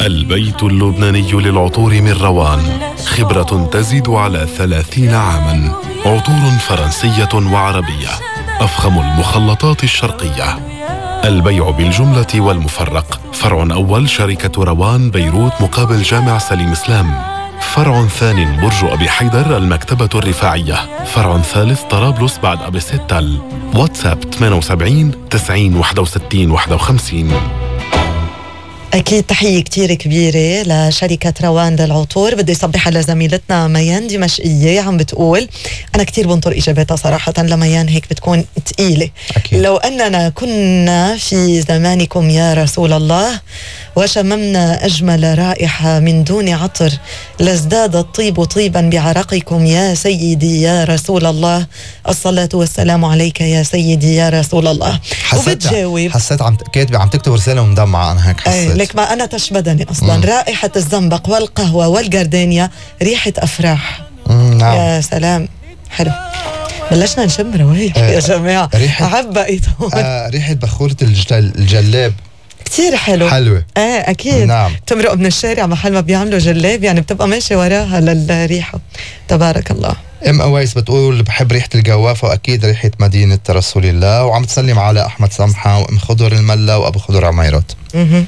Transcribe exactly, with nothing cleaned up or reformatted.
البيت اللبناني للعطور من روان، خبرة تزيد على ثلاثين عاما. عطور فرنسية وعربية، أفخم المخلطات الشرقية. البيع بالجملة والمفرق. فرع أول شركة روان بيروت مقابل جامع سليم إسلام. فرع ثاني برج أبي حيدر المكتبة الرفاعية. فرع ثالث طرابلس بعد أبي ستال. واتساب ثمانية وسبعين تسعين واحد وستين واحد وخمسين. أكيد تحية كتير كبيرة لشركة روان للعطور. بدي صبح على زميلتنا ميان دمشقية عم بتقول أنا كتير بنطر إجاباتها صراحة. لميان هيك بتكون تقيلة. أكيد. لو أننا كنا في زمانكم يا رسول الله وشممنا أجمل رائحة من دون عطر لازداد الطيب طيبا بعرقكم يا سيدي يا رسول الله. الصلاة والسلام عليك يا سيدي يا رسول الله. وبتجاوب حسيت عم كاتبة عم تكتب رسالة ومدمعة. أنا هيك حسيت لك ما أنا تشبدني أصلا. مم. رائحة الزنبق والقهوة والجردانيا ريحة أفراح. نعم. يا سلام حلو. بلشنا نشم روايح آه يا جماعة. عبقت آه ريحة بخورة الجل... الجلاب كتير حلو. حلوة. آه أكيد. نعم. تمرق من الشارع محل ما بيعملوا جلاب يعني بتبقى ماشي وراها للريحة. تبارك الله. ام اويس بتقول بحب ريحة الجوافة واكيد ريحة مدينة رسول الله. وعم تسلم على احمد سمحة وام خضر الملا وابو خضر عميرات. اها